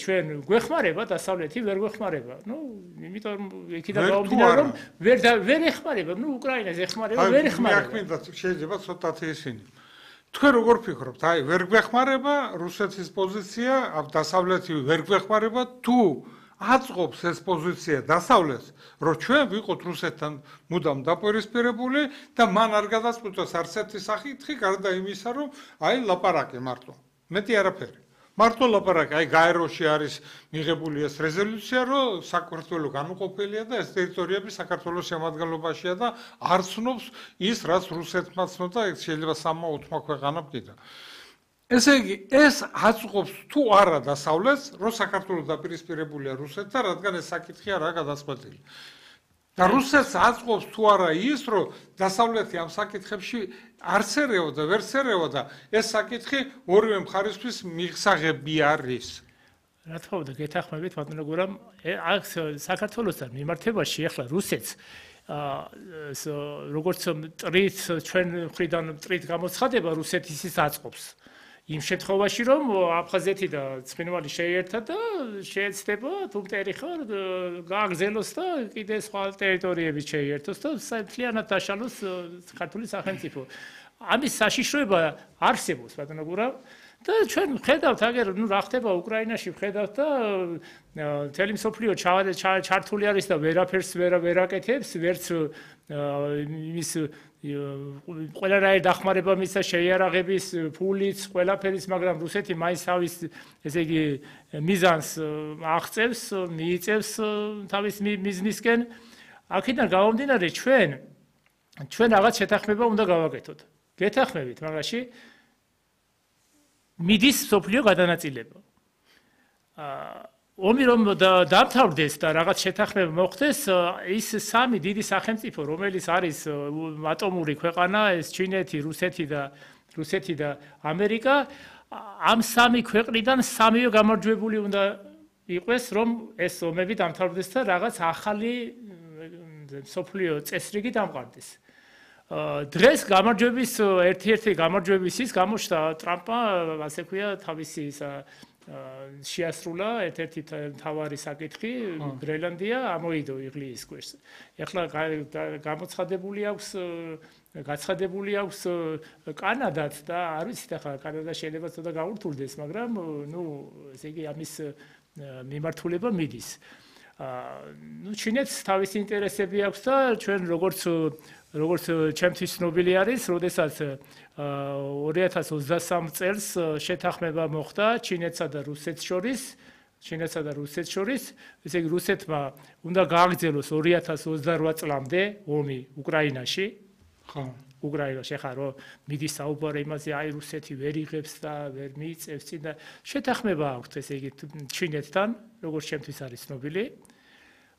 ჩვენ გვეხმარება დასავლეთი ვერ გვეხმარება. იმიტომ იქიდან გამომდინარე რომ ვერ ეხმარება, უკრაინას ეხმარება, ვერ ეხმარება. მე შეიძლება ცოტათი ისინი. თქვენ როგორ ფიქრობთ? ვერ გვეხმარება რუსეთის პოზიცია, დასავლეთი ვერ გვეხმარება თუ აწყობს ეს პოზიცია დასავლეთს, რომ ჩვენ ვიყოთ რუსეთთან მუდამ დაპირისპირებული და მან არ გადაწყვიტოს არც ერთი საკითხი, გარდა იმისა, რომ ლაპარაკი მარტო. მეტი არაფერი. მარტო ლაპარაკი, გაეროში არის მიღებული ეს რეზოლუცია, რომ საქართველო განუყოფელია და ეს ტერიტორიები საქართველოს შემადგენლობაშია და არ ცნობს ის, რაც რუსეთმა ცნობდა, შეიძლება 3-4 ქვეყანა მკიდა. ესე იგი, ეს აწყობს თუ არა დასავლეთს, რომ საქართველო დაპირისპირებულია რუსეთთან, რადგან ეს საკითხი არაა გადაწყვეტილი. და რუსეთს აწყობს თუ არა ის, რომ დასავლეთი ამ საკითხებში არც ერევა და ვერც ერევა და ეს საკითხი ორივე მხარისთვის მიღსაღები არის. რა თქმა უნდა, გეთანხმებით, ბატონო გურამ, აქ საქართველოსთან მიმართებაში ახლა რუსეთს როგორც მტრით ჩვენ მხრიდან მტრით გამოცხადება რუსეთის ის აწყობს. იმ შემთხვევაში რომ აფხაზეთი და ცხინვალი შეერთა და შეეცდება თუ მტერი ხარ გააგზელოს და კიდე სხვა ტერიტორიები შეერთოს და მთლიანად დაშალოს ქართული სახელმწიფო. ამის საშიშროება არსებობს ბატონო გურამ და ჩვენ ვხედავთ აგერ რა ხდება უკრაინაში ვხედავთ და მთელი მსოფლიო ჩართული არის და ვერაფერს ვერ აკეთებს ვერც იმის ყველანაირი დახმარება მისცა შეიარაღების ფულიც ყველაფერის მაგრამ რუსეთი მაინც თავის ესე იგი მიზანს აღწევს მიიწევს თავის მიზნისკენ აქედან გამომდინარე ჩვენ რაღაც შეთანხმება უნდა გავაკეთოთ გეთანხმებით მაგაში მიდის სოფლიო გადანაწილება ომი რომ დამთავრდეს და რაღაც შეთანხმება მოხდეს ის სამი დიდი სახელმწიფო რომელიც არის ატომური ქვეყანა ეს ჩინეთი რუსეთი და ამერიკა ამ სამი ქვეყნიდან სამივე გამარჯვებული უნდა იყოს რომ ეს ომები დამთავრდეს და რაღაც ახალი სოფლიო წესრიგი დამყარდეს დღეს გამარჯვების ერთ-ერთი გამარჯვების ის გამოჩნდა ტრამპმა ასე ქვია თავისი შეასრულა ერთ-ერთი თავარი საკითხი გრენლანდია ამოიდო იღლიის ქვეშ. ეხლა გამოცხადებული აქვს კანადაც და არ ვიცით ახლა კანადა შეიძლება ცოტა გაურთულდეს, მაგრამ ესე იგი ამის მიმართულება მიდის. ჩინეთს თავისი ინტერესები აქვს და ჩვენ როგორც ჩემთვის ცნობილი არის, როდესაც 2023 წელს შეთანხმება მოხდა ჩინეთსა და რუსეთს შორის, ესე იგი რუსეთმა უნდა გააგრძელოს 2028 წლამდე ომი უკრაინაში. ხო. უკრაინაში ხა რომ მიდის საუბარი იმაზე, აი რუსეთი ვერ იღებს და ვერ მიიწევს წინ და შეთანხმება აქვს ესე იგი ჩინეთთან, როგორც ჩემთვის არის ცნობილი.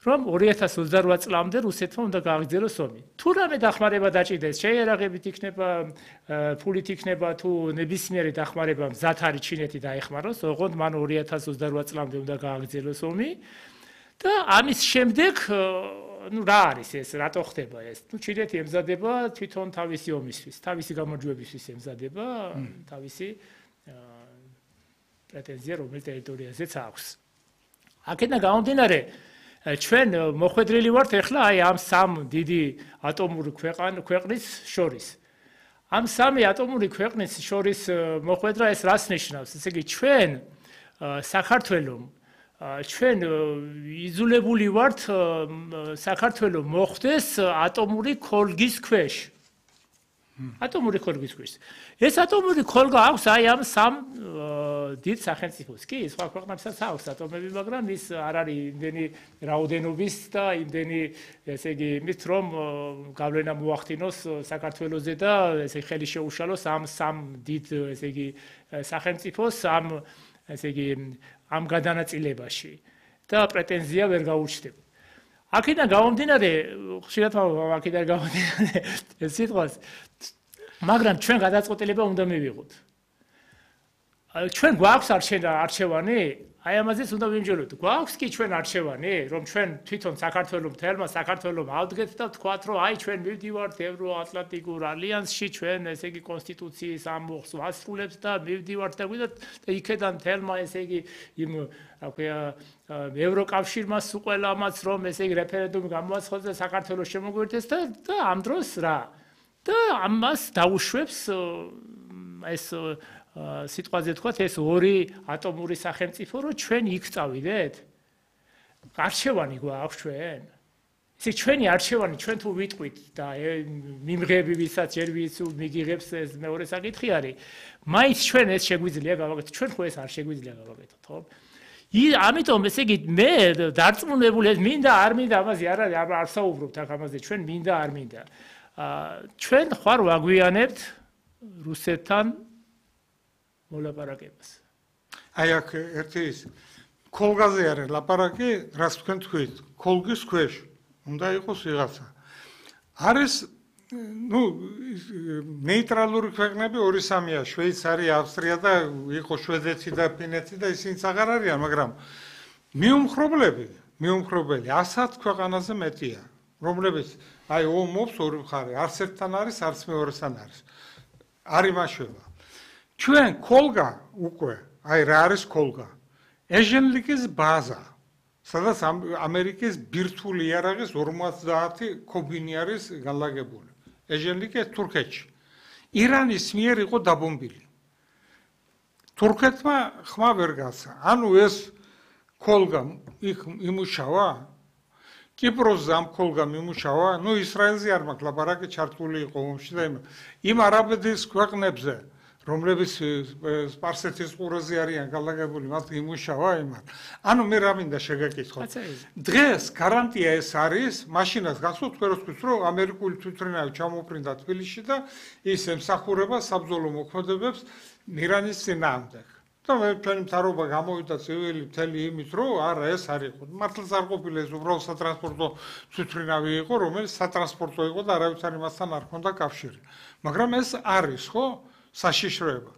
რომ 2028 წლამდე რუსეთმა უნდა გააგრძელოს ომი. თუ რამე დახმარება დაჭიდეს, შეიარაღებით იქნება, ფულით იქნება თუ ნებისმიერი დახმარება მზად არის ჩინეთი დაეხმაროს, ოღონდ მან 2028 წლამდე უნდა გააგრძელოს ომი და ამის შემდეგ რა არის ეს, რატო ხდება ეს? ჩინეთი ემზადება თვითონ თავისი ომისთვის, თავისი გამარჯვებისთვის ემზადება, თავისი პრეტენზია რომელ ტერიტორიაზეც აქვს. აქედან გამომდინარე ჩვენ მოხვედრილი ვართ ახლა აი ამ სამ დიდი ატომური ქვეყნის შორის. ამ სამი ატომური ქვეყნის შორის მოხვედრა ეს რას ნიშნავს? ესე იგი ჩვენ საქართველოს ჩვენ იზოლებული ვართ საქართველოს მოხვდეს ატომური ქოლგის ქვეშ. ატომური ქოლგის ქვეშ. ეს ატომური ქოლგა აქვს აი ამ სამ დიდ სახელმწიფოს. კი, სხვა ქვეყნებსაც აქვს ატომები, მაგრამ ის არ არის იმდენი რაოდენობის და იმდენი, ესე იგი, იმით რომ გავლენა მოახდინოს საქართველოზე და ესე ხელი შეუშალოს ამ სამ დიდ, ესე იგი, სახელმწიფოს ესე იგი, ამ გადანაწილებაში და პრეტენზია ვერ გაუჩნდება. აქედან გამომდინარე, ხშირად აქედან გამომდინარე ეს სიტყვას, მაგრამ ჩვენ გადაწყვეტილება უნდა მივიღოთ. ჩვენ გვაქვს არჩევანი აი ამაზეც უნდა ვიმჯეროთ. გვაქვს კი ჩვენ არჩევანი, რომ ჩვენ თვითონ საქართველოს მთელმა საქართველოს ავდგეთ და ვთქვათ, რომ აი ჩვენ მივდივართ ევროატლანტიკურ ალიანსში, ჩვენ ესე იგი კონსტიტუციის ამბობს ვასრულებთ და მივდივართ და გვიდათ და იქედან მთელმა ესე იგი იმ ევროკავშირმა სუყველამაც რომ ესე იგი რეფერენდუმი გამოაცხადოს და საქართველოს შემოგვერთეს და ამ დროს რა და ამას დაუშვებს ეს სიტყვაზე თქვათ ეს ორი ატომური სახელმწიფო რომ ჩვენ იქ წავიდეთ არჩევანი გვაქვს ჩვენ ესე ჩვენი არჩევანი ჩვენ თუ ვიტყვით და მიმღები ვისაც ჯერ მიგიღებს ეს მეორე საკითხი არის მაინც ჩვენ ეს შეგვიძლია გავაკეთოთ ჩვენ ხო ეს არ შეგვიძლია გავაკეთოთ ხო ამიტომ ესე იგი მე დარწმუნებული მინდა არ მინდა ამაზე არ საუბრობთ აქ ამაზე ჩვენ მინდა არ მინდა ჩვენ ხარ ვაგვიანებთ რუსეთთან მოლაპარაკებას. აი აქ ერთი ის კოლგაზე არის ლაპარაკი, რაც თქვენ თქვით, კოლგის ქვეშ უნდა იყოს ვიღაცა. არის ნეიტრალური ქვეყნები 2-3-ია, შვეიცარია, ავსტრია და იყო შვედეთი და ფინეთი და ისინიც აღარ არიან, მაგრამ მიუმხრობლები 100 ქვეყანაზე მეტია, რომლებიც აი ომობს ორი მხარე, არც ერთთან არის, არც მეორესთან არის. არ იმაშვება. ჩვენ კოლგა უკვე, აი რა არის კოლგა? ეჟენლიკის ბაზა, სადაც ამერიკის ბირთვული იარაღის 50 კობინი არის განლაგებული. ეჟენლიკი თურქეთში. ირანის მიერ იყო დაბომბილი. თურქეთმა ხმა ვერ გასცა. ანუ ეს კოლგა იქ იმუშავა? კიპროსზე ამ კოლგამ იმუშავა? ისრაელზე არ მაქვს ლაპარაკი ჩართული იყო ომში და იმ არაბეთის ქვეყნებზე რომლებიც სპარსეთის ყურეზე არიან განლაგებული, მათ იმუშავა იმან. ანუ მე რა მინდა შეგაკითხოთ. დღეს გარანტია ეს არის, მაშინაც გახსოვთ თქვენთვის, რომ ამერიკული თვითმფრინავი ჩამოფრინდა თბილისში და ის ემსახურება საბრძოლო მოქმედებებს ირანის წინააღმდეგ. და მე ჩვენი მთავრობა გამოვიდა ცივილი მთელი იმით, რომ არა ეს არ იყო. მართლაც არ ყოფილა ეს უბრალოდ სატრანსპორტო თვითმფრინავი იყო, რომელიც სატრანსპორტო იყო და არავის არ იმასთან არ ჰქონდა კავშირი. მაგრამ ეს არის, ხო? საშიშროება.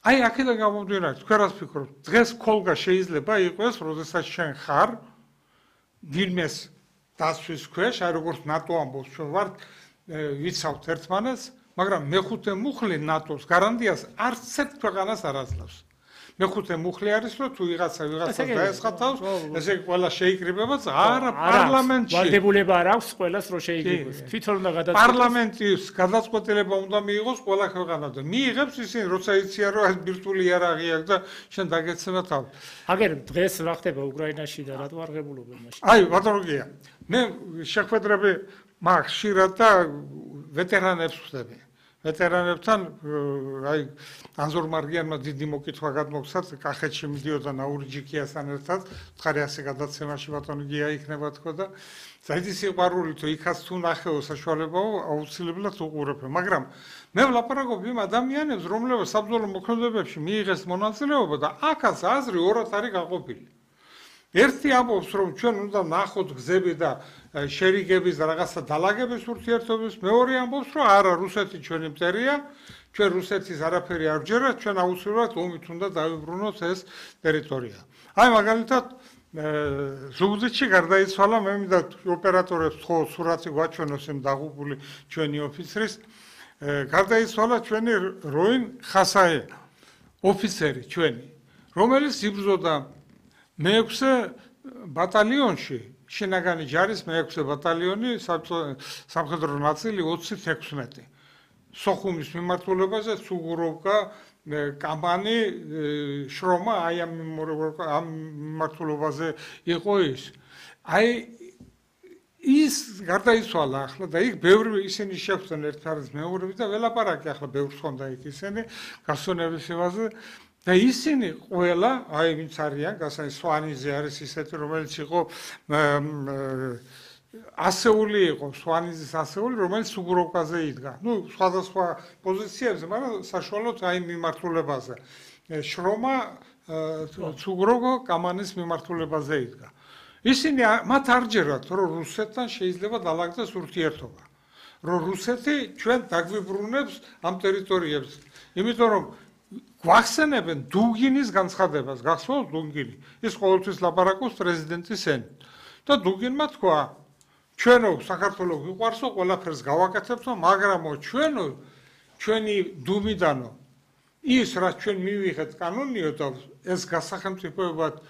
აი აქედან გამომდინარე, თქვენ რას ფიქრობთ? დღეს კოლგა შეიძლება იყოს, როდესაც შენ ხარ ვინმეს დასვის ქვეშ, აი როგორც ნატო ამბობს, ჩვენ ვართ ვიცავთ ერთმანეთს, მაგრამ მეხუთე მუხლი ნატოს გარანტიას არც ერთ ქვეყანას არ აძლევს. მეხუთე მუხლი არის, რომ თუ ვიღაცას დაესხათავს, ესე ყველა შეიკრიბება, არა პარლამენტში. ვალდებულება არ აქვს ყველას რომ შეიკრიბოს. თვითონ უნდა გადაწყვეტოს. პარლამენტის გადაწყვეტილება უნდა მიიღოს ყველა ქვეყანაზე. მიიღებს ისინი, როცა იციან, რომ ეს ბირთვული იარაღი აქვს და შენ დაგეცემა თავი. აგერ დღეს რა ხდება უკრაინაში და რატო არ ღებულობენ მაშინ? აი, ბატონო გია. მე შეხვედრები მაქვს ხშირად და ვეტერანებს ვხვდები. ვეტერანებთან აი ანზორ მარგიანმა დიდი მოკითხვა გადმოგცათ კახეთში მიდიოდა ნაურიჯიკიასთან ერთად ხარი ასე გადაცემაში ბატონო გია იქნება თქო და საერთოდ სიყვარული თუ იქაც თუ ნახეო საშუალებაო აუცილებლად უყურებ მაგრამ მე ვლაპარაკობ იმ ადამიანებს რომლებიც საბრძოლო მოქმედებებში მიიღეს მონაწილეობა და აქაც აზრი ორად არის გაყოფილი ერთი ამბობს რომ ჩვენ უნდა ნახოთ გზები და შერიგების და რაღაცა დალაგების ურთიერთობის მეორე ამბობს რომ არა რუსეთი ჩვენი მტერია ჩვენ რუსეთის არაფერი არ ვჯერათ ჩვენ აუცილებლად ომით უნდა დავიბრუნოთ ეს ტერიტორია აი მაგალითად ზუგდიდში გარდაიცვალა მე მინდა ოპერატორებს ხო სურათი გვაჩვენოს იმ დაღუპული ჩვენი ოფიცრის გარდაიცვალა ჩვენი როინ ხასაე ოფიცერი ჩვენი რომელიც იბრძოდა მე-6 ბატალიონში შინაგანი ჯარის მე-6 ბატალიონი სამხედრო ნაწილი 26 სოხუმის მიმართულებაზე სუგუროვკა კამანი შრომა აი ამ მიმართულებაზე იყო ის აი ის გარდაიცვალა ახლა და იქ ბევრი ისინი შეხვდნენ ერთ-ერთ მეორები და ველაპარაკი ახლა ბევრს ხონდა იქ ისინი გასონების იმაზე და ისინი ყველა, აი ვინც არიან, გასაი სვანიზე არის ისეთი, რომელიც იყო ასეული იყო, სვანიზის ასეული, რომელიც სუგუროვკაზე იდგა. სხვადასხვა პოზიციებზე, მაგრამ საშუალოდ აი მიმართულებაზე. შრომა სუგუროვკა კამანის მიმართულებაზე იდგა. ისინი მათ არ ჯერათ, რომ რუსეთთან შეიძლება დალაგდეს ურთიერთობა. რომ რუსეთი ჩვენ დაგვიბრუნებს ამ ტერიტორიებს. იმიტომ რომ გვახსენებენ დუგინის განცხადებას, გახსოვთ დუგინი? ის ყოველთვის ლაპარაკობს პრეზიდენტის ენით. და დუგინმა თქვა, ჩვენო საქართველოს გვიყვარსო, ყველაფერს გავაკეთებთო, მაგრამო ჩვენი დუმიდანო ის რაც ჩვენ მივიღეთ კანონიო და ეს გასახელმწიფოებად